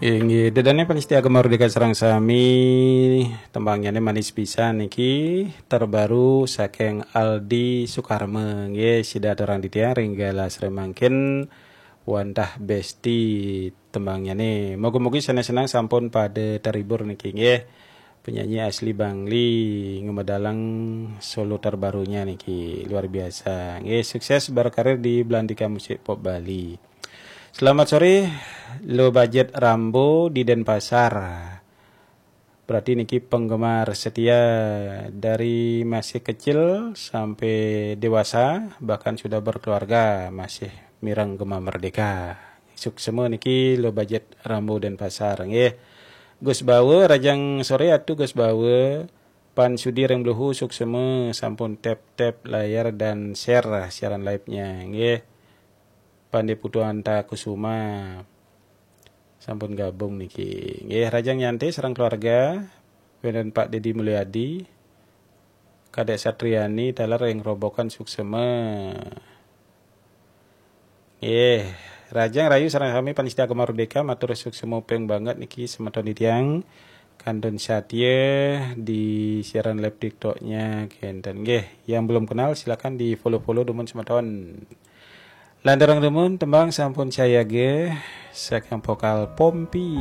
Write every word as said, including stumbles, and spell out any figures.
Inggih, dedane panitia Gema Merdeka sareng sami, tembangnyané manis pisan niki, terbaru saking Aldi Sukarma. Nggih, sida aturang titiang ring galah sore mangkin wantah besti tembangnyané. Moga-moga sané senang sampun pada terhibur niki nggih. Penyanyi asli Bangli ngemedalang solo terbarunya niki luar biasa. Nggih, sukses berkarir di Belantika Musik Pop Bali. Selamat sore, Lo Budget Rambo di Denpasar. Berarti niki penggemar setia dari masih kecil sampai dewasa, bahkan sudah berkeluarga, masih mireng Gema Merdeka. Suksma niki Lo Budget Rambo Denpasar nggih. Gus Bawa, rahajeng sore Atu Gus Bawa. Pan Sudi ring Bluhu, suksma sampun tap-tap layar dan share siaran live-nya nggih. Pandé Putu Anta Kusuma sampun gabung niki. Nggih, rahajeng nyantai sareng keluarga, wénten Pak Dedi Mulyadi, Kadek Satriani taler ring Robokan, suksma. Nggih, rahajeng rahayu sareng sami panitia Gema Merdeka, matur suksma ping banget niki semeton titiang kantun satia di siaran live TikTok-nya kenten. Nggih, yang belum kenal silakan di-follow-follow dumun semeton. Lanturang dumun tembang sampun sayaga saking vokal Pompi.